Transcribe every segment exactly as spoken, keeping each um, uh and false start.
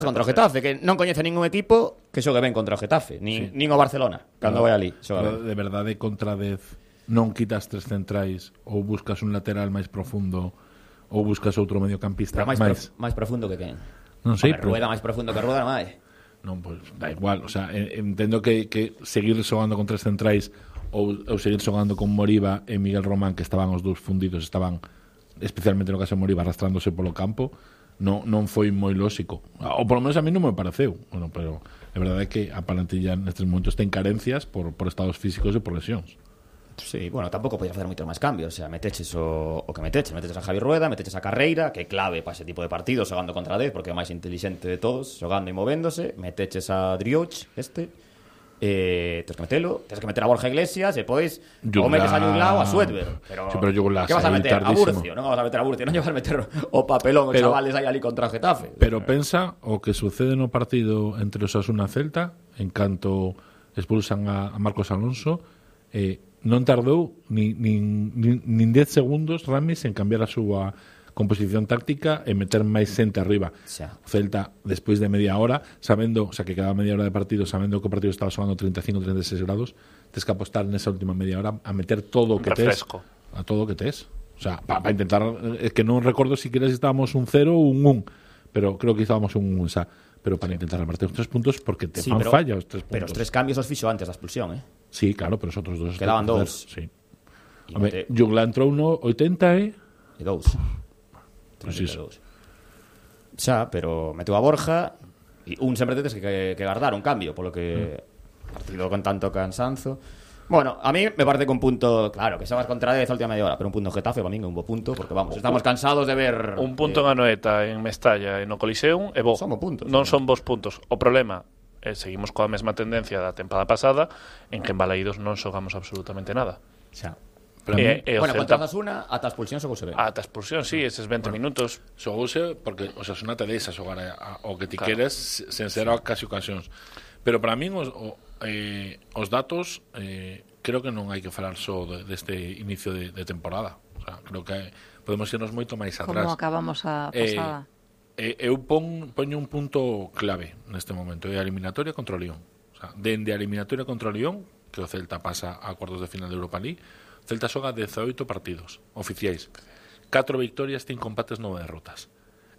contra o Getafe, que non coñece ningún equipo que xogue ben contra o Getafe, nin, sí. nin o Barcelona, cando vai ali. De verdade, contra dez non quitas tres centrais ou buscas un lateral máis profundo ou buscas outro mediocampista máis, máis... Prof, máis profundo que quen? Non sei, pero... Rueda máis profundo que Rueda non hai. Non, pois pues, da igual, o sea, entendo que, que seguir xogando con tres centrais ou, ou seguir xogando con Moriba e Miguel Román, que estaban os dous fundidos, estaban especialmente no caso de Moriba arrastrándose polo campo, non, non foi moi lóxico, ou polo menos a mí non me pareceu. Bueno, pero é verdade que a plantilla nestes momentos ten carencias por, por estados físicos e por lesións. Sí, bueno, tampouco podía facer moito máis cambios. O sea, meteches o, o que meteches Meteches a Javi Rueda, meteches a Carreira, que é clave para ese tipo de partidos, xogando contra dez, porque é o máis inteligente de todos, xogando e movéndose. Meteches a Drioch, este eh, Tens que metelo, tens que meter a Borja Iglesias. E pois, ou metes a Juglao, a Suedver. Pero, sí, pero Juglao, que vas a meter? A Burcio, non vas a meter a Burcio. Non lle vas a meter o papelón, os chavales aí ali contra o Getafe. Pero pensa o que sucede no partido entre Osasuna e Celta, en canto expulsan a, a Marcos Alonso, eh, non tardou nin, nin, nin, nin dez segundos Ramis en cambiar a súa composición táctica e meter máis xente arriba. Xa. Celta, despois de media hora, sabendo, o sea, que quedaba media hora de partido, sabendo que o partido estaba xogando treinta e cinco, treinta e seis grados, tens que apostar nesa última media hora a meter todo o que tes, a todo o que tes. O sea, para pa intentar, é que non recordo si queres estábamos un cero ou un un, pero creo que estábamos un un, o sea, pero para intentar repartir os tres puntos porque te sí, fan pero, falla os tres puntos. Pero os tres cambios os fixo antes da expulsión, eh? Sí, claro, pero os outros dos quedaban dous. Sí. Home, Jugla entrou no oitenta e e dous. Pues iso. Xa, pero meteu a Borja e un sempre tetes que, que guardar un cambio, polo que mm. partido con tanto cansanzo. Bueno, a mí me parece que un punto, claro, que xogas contra dez a última media hora, pero un punto Getafe para min é un bo punto, porque vamos, estamos cansados de ver un punto eh, en Anoeta, en Mestalla e no Coliseum é bo. Son bo puntos. Non son bons puntos. O problema é seguimos coa mesma tendencia da tempada pasada en que en Balaídos non xogamos absolutamente nada. Xa. E, e bueno, Celta... contra Osasuna ata a expulsión xogouse ben. Ata a expulsión, sí, eses vinte bueno, minutos xogouse porque Osasuna te deixa xogar a, a, o que ti claro. queres sen ser sí. casi ocasións. Pero para min os, o, eh, os datos eh, creo que non hai que falar só de, deste inicio de, de temporada. O sea, creo que podemos irnos moito máis atrás. Como acabamos a pasada. Eh, eh, eu pon, poño un punto clave neste momento, é a eliminatoria contra o Lyon. O sea, dende a eliminatoria contra o Lyon, que o Celta pasa a cuartos de final de Europa League, Celta xoga dezaoito partidos oficiais, catro victorias, cinco empates, nove derrotas.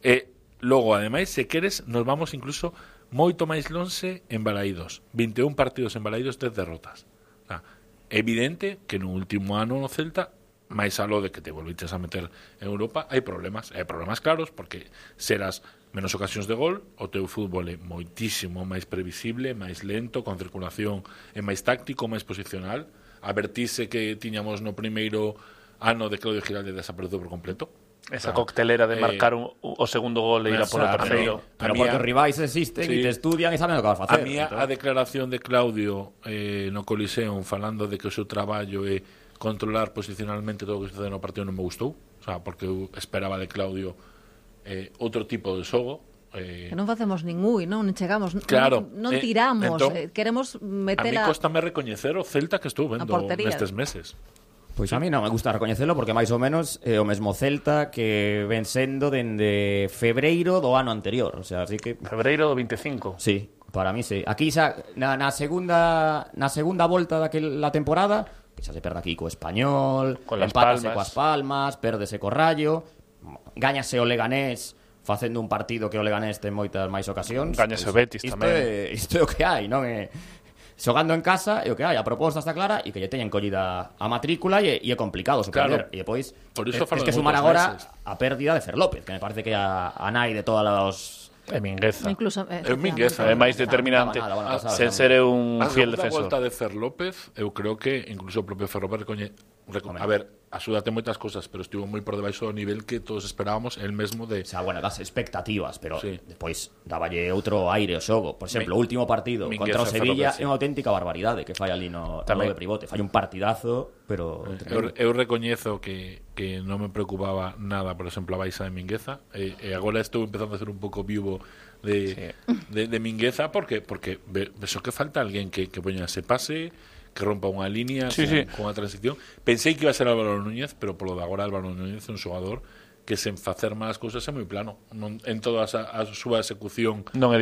E logo, ademais, se queres, nos vamos incluso moito máis lonxe en Balaídos, vinte e un partidos en Balaídos, dez derrotas. O sea, é evidente que no último ano no Celta, máis aló de que te volviches a meter en Europa, hai problemas, hai problemas claros, porque serás menos ocasións de gol, o teu fútbol é moitísimo máis previsible, máis lento, con circulación é máis táctico, máis posicional. A vertise que tiñamos no primeiro ano de Claudio Giralde desapareceu por completo. Esa coctelera de marcar eh, un, o segundo gol e ir a por o terceiro. Pero porque os rivais existen sí. e te estudian e saben o que vas a facer. A mí a declaración de Claudio eh, no Coliseum falando de que o seu traballo é controlar posicionalmente todo o que sucede no partido non me gustou. O sea, porque eu esperaba de Claudio eh, outro tipo de xogo. Eh, que non facemos ningún, non chegamos, claro, non, non tiramos, eh, entón, eh, queremos meter a... A mí costame recoñecer o Celta que estou vendo nestes meses. Pois a mí non me gusta recoñecelo porque máis ou menos é o mesmo Celta que ven sendo dende febreiro do ano anterior, o sea, así que febreiro do vinte e cinco. Sí, para mí sí. Aquí xa na, na segunda na segunda volta daquela temporada, que xa se perde aquí co Español, empátase coas Palmas, pérdese co Rayo, gáñase o Leganés facendo un partido que o Leganés ten moitas máis ocasións. Gañase o Betis isto tamén. É, isto é o que hai, non é... Xogando en casa é o que hai, a proposta está clara e que lle teñen collida a matrícula e, e é complicado sorprender. Claro. E depois por iso é, é que sumar agora meses. A pérdida de Fer López, que me parece que é a, a nai de todos os... É Mingueza. Incluso, é, é Mingueza, é máis determinante. Nada, bueno, pasada, sen ser un a fiel defensor. A volta de Fer López, eu creo que incluso o propio Fer López recoñe... Recon... A ver, axúdate moitas cosas, pero estivo moi por debaixo do nivel que todos esperábamos, el mesmo de... O sea, bueno, das expectativas, pero sí. Depois dáballe outro aire ao xogo. Por exemplo, o Mi... último partido Mi... contra o Sevilla é unha auténtica barbaridade que fai ali no, no de Privote. Fai un partidazo, pero... Eu, eu recoñezo que, que non me preocupaba nada, por exemplo, a baixa de Mingueza, e, e agora estou empezando a ser un pouco vivo de, sí. de, de Mingueza, porque porque vexo que falta alguén que, que poña ese pase, que rompa unha línea sí, con, sí. con a transición. Pensei que iba a ser Álvaro Núñez, pero polo de agora Álvaro Núñez é un xogador que sen facer máis cousas é moi plano. Non, en toda a, a súa execución Non é